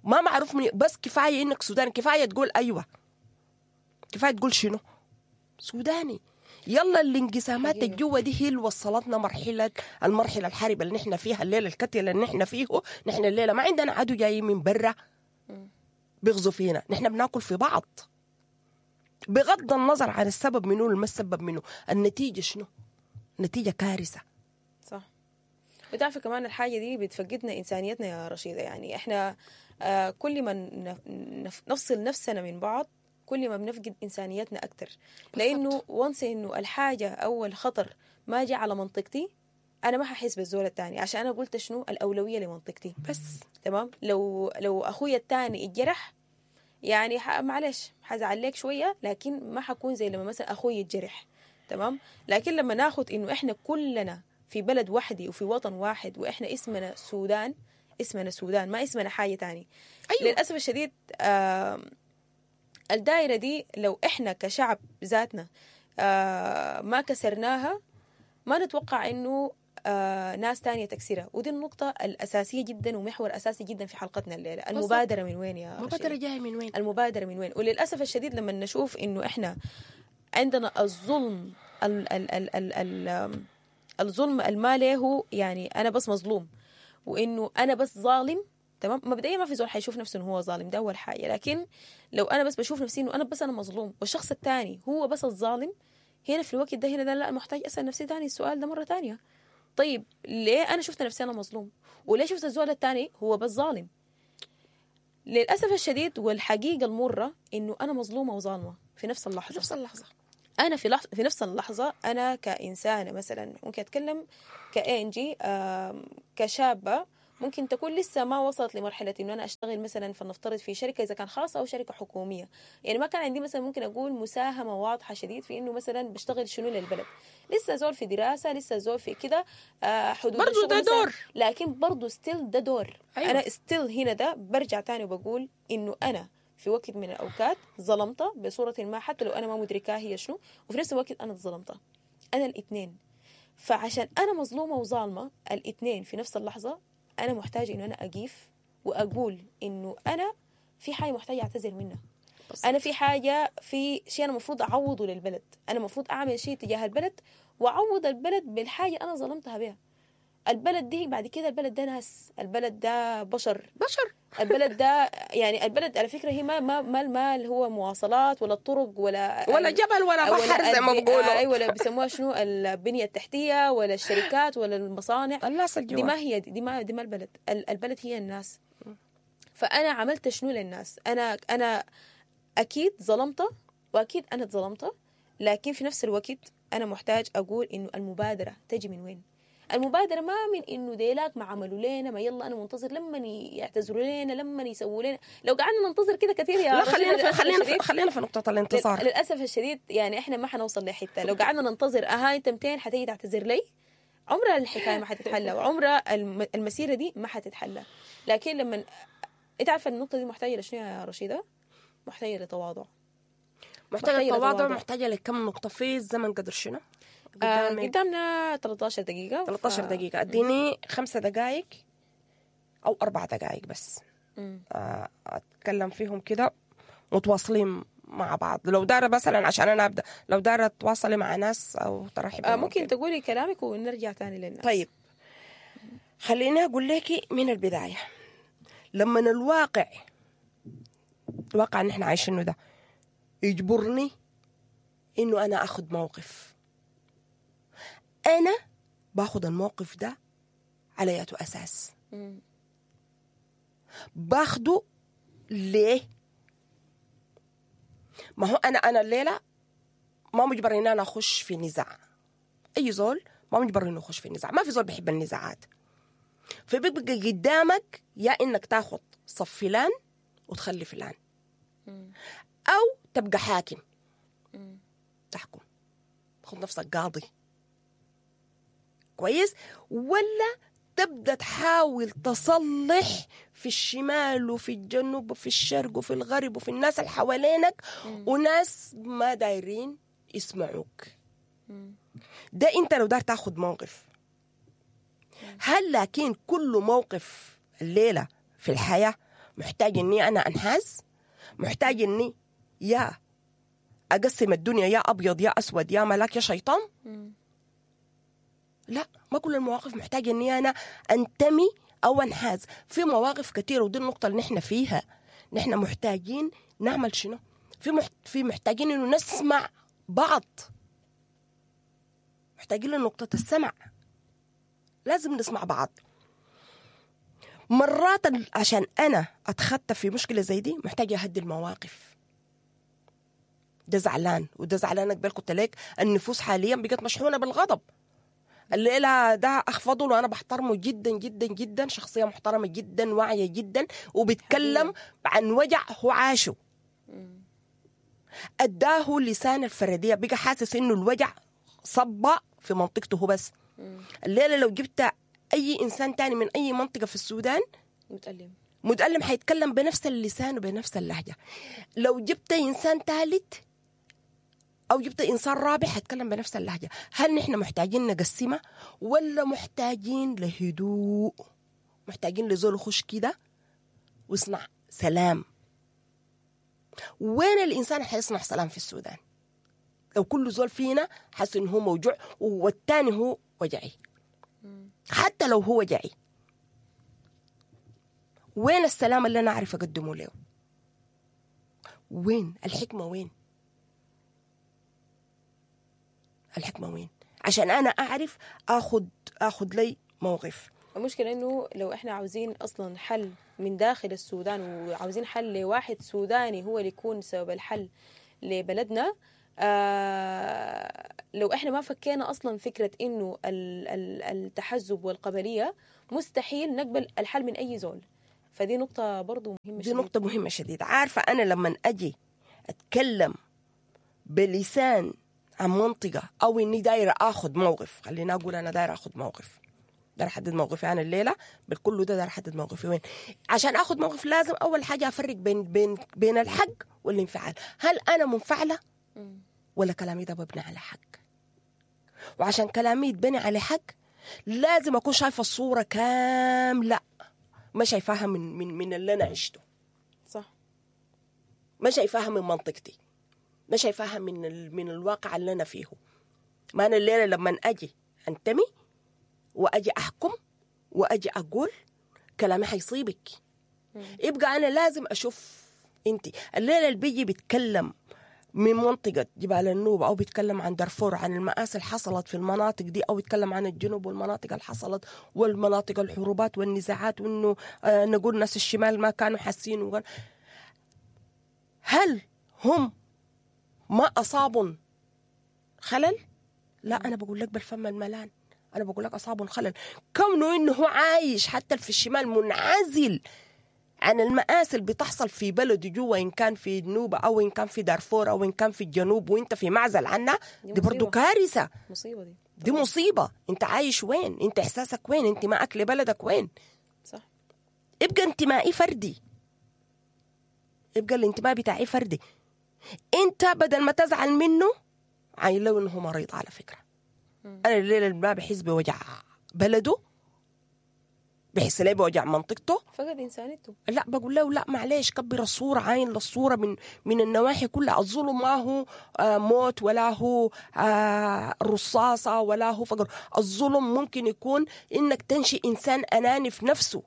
ما معروف من، بس كفاية انك سوداني، كفاية تقول أيوة، كفاية تقول شنو سوداني. يلا الانقسامات الجوة دي هي اللي وصلتنا مرحلة المرحلة الحربة اللي نحن فيها الليلة، الكتلة اللي نحن فيه. نحن الليلة ما عندنا عدو جاي من برا بيغزو فينا، نحن بناكل في بعض بغض النظر عن السبب منه ولا ما السبب منه، النتيجة شنو؟ نتيجة كارثة. صح. بتعرف كمان الحاجة دي بتفقدنا إنسانيتنا يا رشيدة. يعني إحنا كل ما نفصل نفسنا من بعض كل ما بنفقد إنسانيتنا أكتر، لأنه وانس إنه الحاجة أو الخطر ما جاء على منطقتي أنا ما ححس بالزول الثاني، عشان أنا قلت شنو الأولوية لمنطقتي بس. تمام. لو أخويا الثاني اتجرح يعني معلش حزعل لك شوية، لكن ما حكون زي لما مثلا أخوي يتجرح. تمام. لكن لما ناخد إنه إحنا كلنا في بلد واحدة وفي وطن واحد، وإحنا اسمنا سودان، اسمنا سودان ما اسمنا حاجة تاني. أيوة. للأسف الشديد الدائرة دي لو إحنا كشعب ذاتنا ما كسرناها، ما نتوقع إنه ناس تانية تكسرها. ودي النقطة الأساسية جدا ومحور أساسي جدا في حلقتنا الليلة. المبادرة من وين يا المبادرة جاية من وين؟ المبادرة من وين؟ وللأسف الشديد لما نشوف إنه إحنا عندنا الظلم ال ال ال ال ال الظلم المالي هو يعني أنا بس مظلوم وإنه أنا بس ظالم، تمام؟ مبدئيا ما في زول حيشوف نفسه إنه هو ظالم، ده أول حاجة. لكن لو أنا بس بشوف نفسي إنه أنا بس أنا مظلوم والشخص الثاني هو بس الظالم، هنا في الوقت ده هنا ده لا، محتاج أسأل نفسي تاني السؤال ده مرة تانية. طيب ليه أنا شفت نفسي أنا مظلوم وليه شفت الزول الثاني هو بس ظالم؟ للأسف الشديد والحقيقة المرة إنه أنا مظلومة وظالمة في نفس اللحظة. في نفس اللحظة. أنا في نفس اللحظة أنا كإنسانة مثلا ممكن أتكلم كإنجي، كشابة ممكن تكون لسه ما وصلت لمرحلة إنه أنا أشتغل مثلا فلنفترض في شركة إذا كان خاصة أو شركة حكومية، يعني ما كان عندي مثلا ممكن أقول مساهمة واضحة شديد في إنه مثلا بشتغل شنو للبلد، لسه زول في دراسة، لسه زول في كده، حدود برضو ده دور، لكن برضو still ده دور. أيوة. أنا still هنا ده برجع تاني وبقول إنه أنا في وقت من الأوقات ظلمته بصورة ما حتى لو أنا ما مدركاها هي شنو، وفي نفس الوقت أنا اتظلمته، أنا الاثنين. فعشان أنا مظلومة وظالمة الاثنين في نفس اللحظة، أنا محتاجة إنه أنا أقيف وأقول إنه أنا في حاجة محتاجة أعتذر منها، أنا في حاجة، في شيء أنا مفروض أعوضه للبلد، أنا مفروض أعمل شيء تجاه البلد وأعوض البلد بالحاجة أنا ظلمتها بها. البلد دي بعد كده البلد ده ناس، البلد ده بشر، البلد ده يعني البلد على فكرة هي ما ما ما المال هو مواصلات ولا الطرق ولا جبل ولا بحر زي ما بيقولوا، ايوه، ولا بيسموها شنو البنية التحتية ولا الشركات ولا المصانع، الناس الجوا دي ما هي دي ما دي ما البلد، البلد هي الناس. فأنا عملت شنو للناس؟ أنا أكيد ظلمته وأكيد أنا اتظلمته، لكن في نفس الوقت أنا محتاج أقول إنه المبادرة تجي من وين؟ المبادرة ما من إنه ديلاك ما عملوا لنا، ما يلا أنا منتظر لما يعتذروا لنا، لما يسووا لنا. لو قعدنا ننتظر كده كثير يا لا، خلينا في نقطة الانتصار. للأسف الشديد يعني إحنا ما حنوصل لحتة لو قعدنا ننتظر أنت 200 حتيجي تعتذر لي، عمرها الحكاية ما حتتحلى وعمرها المسيرة دي ما حتتحلى. لكن لما أنت عارفة النقطة دي محتاجة لشنو يا رشيدة؟ محتاجة لتواضع، محتاجة لتواضع، محتاجة لكم نقطة في الزمن قدر شنو؟ قدامنا 13 دقيقة. 13 دقيقة، اديني 5 دقائق أو 4 دقائق بس أتكلم فيهم كده متواصلين مع بعض. لو دارة مثلا عشان أنا أبدأ، لو دارة تواصلي مع ناس أو ترحبي ممكن تقولي كلامك ونرجع تاني للناس. طيب خليني أقول لك من البداية، لما الواقع اللي احنا عايشينه ده يجبرني إنه أنا أخذ موقف، أنا باخد الموقف ده على ياتو أساس؟ باخده ليه؟ ما هو أنا الليلة ما مجبر إن أنا أخش في نزاع، أي زول ما مجبر إنه يخش في نزاع، ما في زول بيحب النزاعات. فبيبقى قدامك يا إنك تاخد صف فلان وتخلي فلان، أو تبقى حاكم تحكم، تاخد نفسك قاضي كويس، ولا تبدأ تحاول تصلح في الشمال وفي الجنوب وفي الشرق وفي الغرب وفي الناس اللي حوالينك وناس ما دايرين يسمعوك. ده انت لو دار تاخد موقف. هل لكن كل موقف الليلة في الحياة محتاج اني انا انحاز؟ محتاج اني يا اقسم الدنيا يا ابيض يا اسود يا ملاك يا شيطان؟ لا، ما كل المواقف محتاجة اني انا انتمي او انحاز. في مواقف كثيرة، ودي النقطة اللي نحن فيها، نحن محتاجين نعمل شنو؟ في محتاجين انه نسمع بعض، محتاجين لنقطة السمع، لازم نسمع بعض. مرات عشان انا اتخطى في مشكلة زي دي محتاجة اهدي المواقف. ده زعلان وده زعلان، قبل قلت لك النفوس حاليا بقت مشحونة بالغضب. الليلة ده أخ فضل وأنا بحترمه جدا جدا جدا، شخصية محترمة جدا، واعية جدا، وبيتكلم عن وجع هو عاشه، أداه لسان الفردية، بقى حاسس إنه الوجع صب في منطقته هو بس. الليلة لو جبت أي إنسان تاني من أي منطقة في السودان متألم حيتكلم بنفس اللسان وبنفس اللهجة. لو جبت إنسان ثالث او جبت انسان رابع حيتكلم بنفس اللهجة. هل نحن محتاجين نقسمها ولا محتاجين لهدوء؟ محتاجين لزول يخش كده ويصنع سلام. وين الانسان حيصنع سلام في السودان لو كل زول فينا حس انه هو موجوع والتاني هو وجعي؟ حتى لو هو وجعي، وين السلام اللي انا اعرف اقدمه له؟ وين الحكمة؟ وين الحكمة؟ وين عشان انا اعرف اخذ لي موقف؟ المشكلة إنه لو إحنا عاوزين أصلا حل من داخل السودان، وعاوزين حل لواحد سوداني هو اللي يكون سبب الحل لبلدنا، لو إحنا ما فكينا أصلا فكرة إنه التحزب والقبلية، مستحيل نقبل الحل من أي زول. فدي نقطة برضو مهمة دي شديد. نقطة مهمة شديد. عارفة أنا لما أجي أتكلم بلسان عن منطقة أو إني دايرة أخذ موقف، خلينا أقول أنا دايرة أخذ موقف، دايرة أحدد موقفي أنا الليلة بالكل ده، دايرة أحدد موقفي وين. عشان أخذ موقف لازم أول حاجة أفرق بين بين بين الحق والانفعال. هل أنا منفعلة ولا كلامي ده مبني على حق؟ وعشان كلامي يتبني على حق لازم أكون شايفة الصورة كاملة، ما شايفاها من من من اللي أنا عشته، صح، ما شايفاها من منطقتي، ما شايفاها من من الواقع اللي انا فيه. ما انا الليلة لما اجي انتمي واجي احكم واجي اقول كلامي حيصيبك، يبقى انا لازم اشوف انت الليلة اللي بيجي بيتكلم من منطقة جبال النوبة أو بيتكلم عن دارفور، عن المآسي اللي حصلت في المناطق دي، أو بيتكلم عن الجنوب والمناطق اللي حصلت والمناطق الحروبات والنزاعات، وإنه نقول ناس الشمال ما كانوا حاسين. هل هم ما أصابهم خلل؟ لا، أنا بقول لك بالفم الملان، أنا بقول لك أصابهم خلل. كونه إنه هو عايش حتى في الشمال منعزل عن المآسي اللي بتحصل في بلده جوا، إن كان في النوبة أو إن كان في دارفور أو إن كان في الجنوب، وإنت في معزل عنها، دي برضو كارثة. مصيبة دي. دي مصيبة. أنت عايش وين؟ أنت إحساسك وين؟ انتمائك لبلدك وين؟ صح. ابقى انتمائي فردي، يبقى الانتماء بتاعي فردي. انت بدل ما تزعل منه عاين له انه مريض. على فكرة انا الليلة اللي ما بحس بوجع بلده، بحس ليه بوجع منطقته، فقد انسانيته. لا، بقول له لا معلش، كبر الصورة، عاين للصورة من النواحي كلها. الظلم ما هو موت ولا هو رصاصة ولا هو فقر. الظلم ممكن يكون انك تنشئ انسان اناني في نفسه،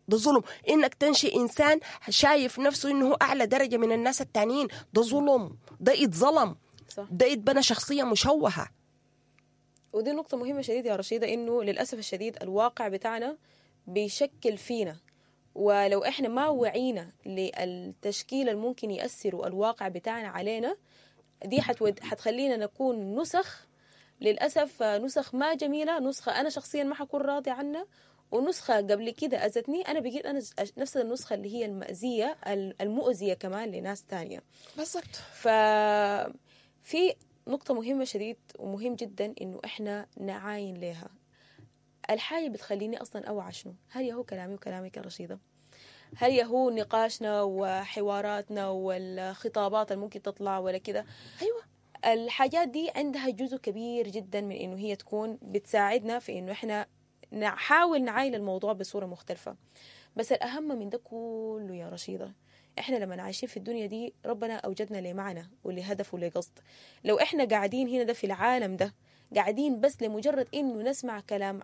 ده ظلم. انك تنشئ انسان شايف نفسه انه هو اعلى درجه من الناس التانيين، ده ظلم، ده يتظلم، ده يتبنى شخصية مشوهة. ودي نقطة مهمة شديد يا رشيده، انه للاسف الشديد الواقع بتاعنا بيشكل فينا، ولو احنا ما وعينا للتشكيل الممكن ياثر الواقع بتاعنا علينا، دي حتخلينا نكون نسخ، للاسف نسخ ما جميلة، نسخه انا شخصيا ما حكون راضي عنها، ونسخة قبل كده أذتني أنا، بقيت أنا نفس النسخة اللي هي المأزية المؤذية كمان لناس تانية. بالضبط. ففي نقطة مهمة شديد ومهم جدا إنه إحنا نعاين لها. الحاجة بتخليني أصلا أوعى شنو؟ هل يهو كلامي وكلامك يا رشيدة؟ هل يهو نقاشنا وحواراتنا والخطابات اللي ممكن تطلع ولا كده؟ أيوة. الحاجات دي عندها جزء كبير جدا من إنه هي تكون بتساعدنا في إنه إحنا نحاول نعاين الموضوع بصورة مختلفة. بس الأهم من ده كله يا رشيدة، إحنا لما عايشين في الدنيا دي ربنا أوجدنا لمعنى ولهدف ولقصد. لو إحنا قاعدين هنا ده في العالم ده قاعدين بس لمجرد إنه نسمع كلام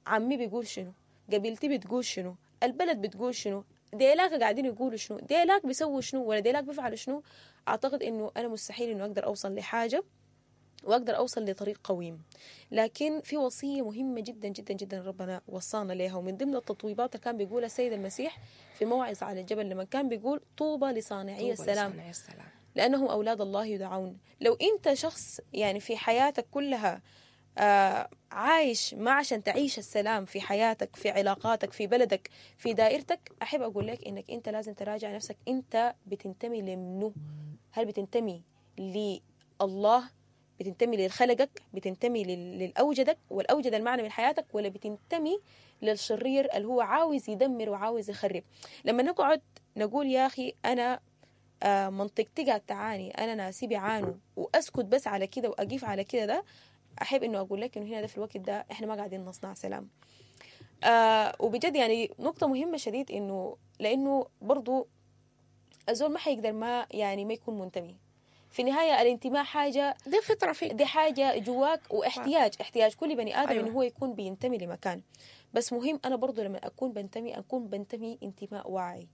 عمي بيقول شنو، قبيلتي بتقول شنو، البلد بتقول شنو، ديلاك قاعدين يقولوا شنو، ديلاك بيسووا شنو، ولا ديلاك بيفعلوا شنو، أعتقد إنه أنا مستحيل إنه أقدر أوصل لحاجة وأقدر أوصل لطريق قويم. لكن في وصية مهمة جدا جدا جدا ربنا وصانا لها، ومن ضمن التطويبات اللي كان بيقولها السيد المسيح في موعظة على الجبل لما كان بيقول طوبى لصانعي السلام لأنهم أولاد الله يدعون. لو أنت شخص يعني في حياتك كلها عايش ما عشان تعيش السلام في حياتك، في علاقاتك، في بلدك، في دائرتك، أحب أقول لك إنك أنت لازم تراجع نفسك. أنت بتنتمي لمنه؟ هل بتنتمي لله؟ بتنتمي للخلقك؟ بتنتمي للأوجدك والأوجد المعنى من حياتك، ولا بتنتمي للشرير اللي هو عاوز يدمر وعاوز يخرب؟ لما نقعد نقول يا أخي أنا منطقتي قاعد تعاني، انا ناسي بيعانوا، واسكت بس على كده واقيف على كده، ده احب انه اقول لك انه هنا ده في الوقت ده احنا ما قاعدين نصنع سلام. وبجد يعني نقطة مهمة شديد، انه لانه برضو الزول ما حيقدر ما يعني ما يكون منتمي. في النهاية الانتماء حاجة، دي فطرة فيك، دي حاجة جواك، واحتياج، احتياج كل بني آدم. إنه هو يكون بينتمي لمكان. بس مهم أنا برضو لما أكون بنتمي أكون بنتمي انتماء واعي،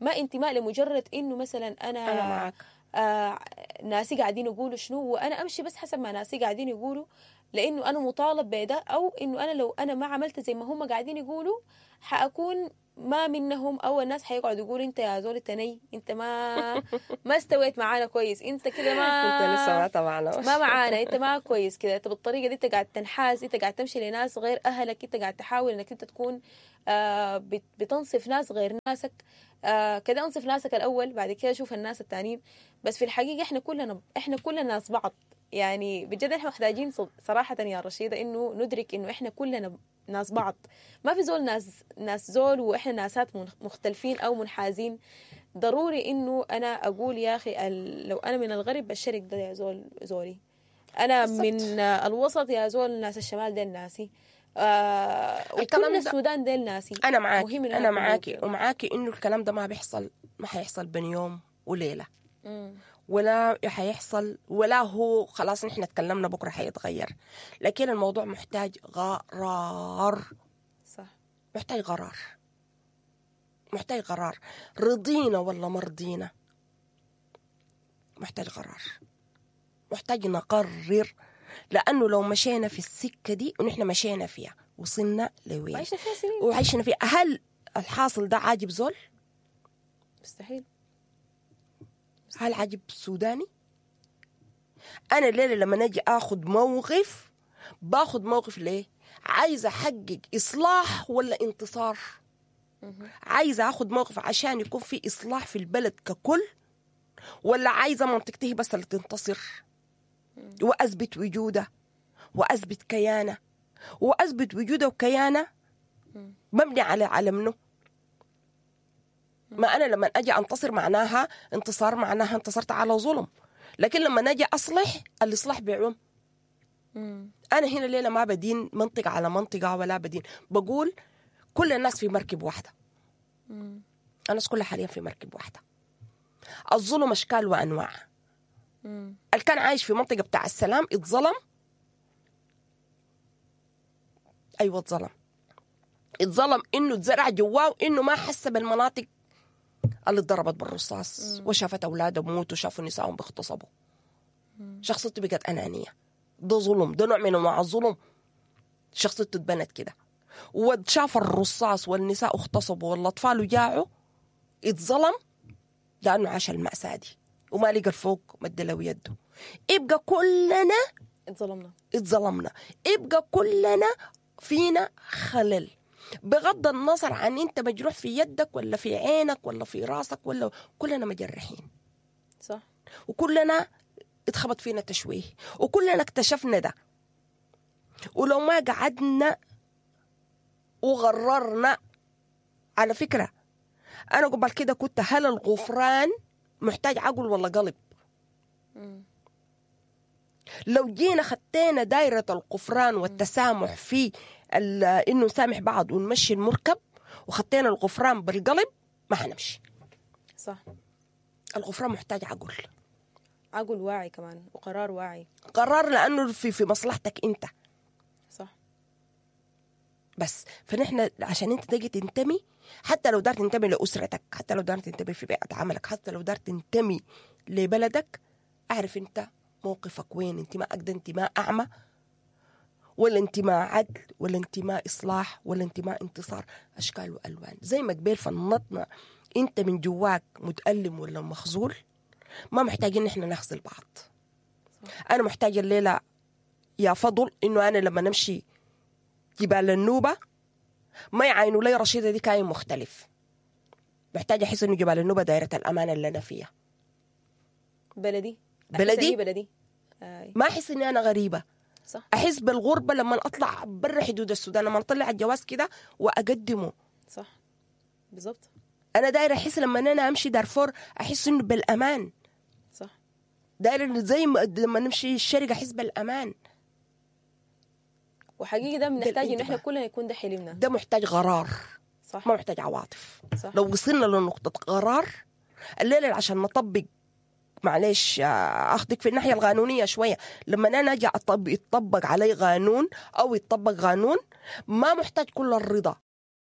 ما انتماء لمجرد إنه مثلا أنا معك ناسي قاعدين يقولوا شنو وأنا أمشي بس حسب ما ناسي قاعدين يقولوا، لأنه أنا مطالب بده، أو إنه أنا لو أنا ما عملت زي ما هم قاعدين يقولوا حأكون ما منهم، أو الناس حيقعدوا يقولوا أنت يا زول التني، أنت ما استويت معانا كويس، أنت كده ما انت لسه ما تبعنا، ما معانا، انت ما كويس كده، انت بالطريقة دي انت قاعد تنحاز، انت قاعد تمشي لناس غير اهلك، انت قاعد تحاول انك انت تكون بتنصف ناس غير ناسك. كده انصف ناسك الاول، بعد كده شوف الناس التانيين. بس في الحقيقة احنا كلنا ناس بعض. يعني بجد احنا محتاجين صراحة يا رشيده انه ندرك انه احنا كلنا ناس بعض، ما في زول ناس زول، واحنا ناسات مختلفين او منحازين. ضروري انه انا اقول يا اخي لو انا من الغرب الشرق ده يا زول زوري، انا بالزبط. من الوسط يا زول ناس الشمال ده ناسي، وكل السودان ده ناسي. انا معاكي، انا معاكي ومعاكي انه الكلام ده ما بيحصل، ما حيحصل بين يوم وليلة، ولا حيحصل، ولا هو خلاص نحن تكلمنا بكره حيتغير، لكن الموضوع محتاج قرار. صح، محتاج قرار، محتاج قرار، رضينا ولا مرضينا، محتاج قرار، محتاج نقرر، لأنه لو مشينا في السكة دي ونحن مشينا فيها وصلنا لوين، وعيشنا فيها سنين، وعيشنا فيها، هل الحاصل ده عاجب زول؟ مستحيل. هل عاجب سوداني؟ أنا الليلة لما نجي آخد موقف، باخد موقف ليه؟ عايزة أحقق إصلاح ولا انتصار؟ عايزة أخد موقف عشان يكون في إصلاح في البلد ككل، ولا عايزة منطقتي بس اللي تنتصر وأثبت وجوده وأثبت كيانه، وأثبت وجوده وكيانه مبني على منه؟ ما أنا لما أجي أنتصر معناها انتصار، معناها انتصرت على ظلم، لكن لما أجي أصلح الإصلاح بيعم. أنا هنا ليلة ما بدين منطقة على منطقة ولا بدين، بقول كل الناس في مركب واحدة. الناس كلها حاليا في مركب واحدة. الظلم أشكال وأنواع. اللي كان عايش في منطقة بتاع السلام اتظلم، أيوة اتظلم، اتظلم إنه اتزرع جواه إنه ما حس بالمناطق اللي اتضربت بالرصاص، وشافت أولاده بموتوا، وشافوا نسائهم بيغتصبوا. شخصيته بقت أنانية. ده ظلم، ده نوع من أنواع الظلم. شخصيته اتبنت كده، وشاف الرصاص والنساء اغتصبوا والأطفال جاعوا، اتظلم لأنه عاش المأساة دي وما لقى الفوق مد له يده. يبقى كلنا اتظلمنا، اتظلمنا، يبقى كلنا فينا خلل، بغض النظر عن انت مجروح في يدك ولا في عينك ولا في راسك، ولا كلنا مجرحين. صح، وكلنا اتخبط فينا تشويه، وكلنا اكتشفنا ده. ولو ما قعدنا وغررنا، على فكرة أنا قبل كده كنت، هل الغفران محتاج عقل ولا قلب؟ لو جينا خدتنا دايرة الغفران والتسامح في إنه نسامح بعض ونمشي المركب، وخدتنا الغفران بالقلب، ما حنمشي. صح، الغفران محتاج عقل، عقل واعي كمان، وقرار واعي، قرار لأنه في مصلحتك أنت. صح. بس فنحن عشان انت تجي تنتمي، حتى لو دار تنتمي لأسرتك، حتى لو دار تنتمي في بيئة عملك، حتى لو دار تنتمي لبلدك، اعرف انت موقفك وين. انتماءك ده انتماء أعمى، ولا انتماء عدل، ولا انتماء إصلاح، ولا انتماء انتصار؟ أشكال وألوان. زي ما قبل فنطنا، انت من جواك متألم ولا مخزول، ما محتاجين نحن نخزل بعض. أنا محتاجة الليلة يا فضل إنه أنا لما نمشي جبال النوبة ما يعينوا لي رشيدة دي كاين مختلف. محتاجة أحس إنه جبال النوبة دائرة الأمان اللي أنا فيها. بلدي، بلدي، بلدي. ما أحس إني أنا غريبة. صح. أحس بالغربة لما أطلع برا حدود السودان، لما أطلع الجواز كده وأقدمه. صح، بالضبط. انا داير احس لما انا امشي دارفور احس انه بالامان. داير إنه زي ما لما نمشي الشرق احس بالامان. وحقيقي ده بنحتاج انه احنا الانتباه. كلنا يكون ده حلمنا. ده محتاج قرار، ما محتاج عواطف. لو وصلنا لنقطة قرار الليلة عشان نطبق، معلش اخذك في الناحية القانونية شوية، لما انا اجي اطبق، يطبق علي قانون او يطبق قانون، ما محتاج كل الرضا.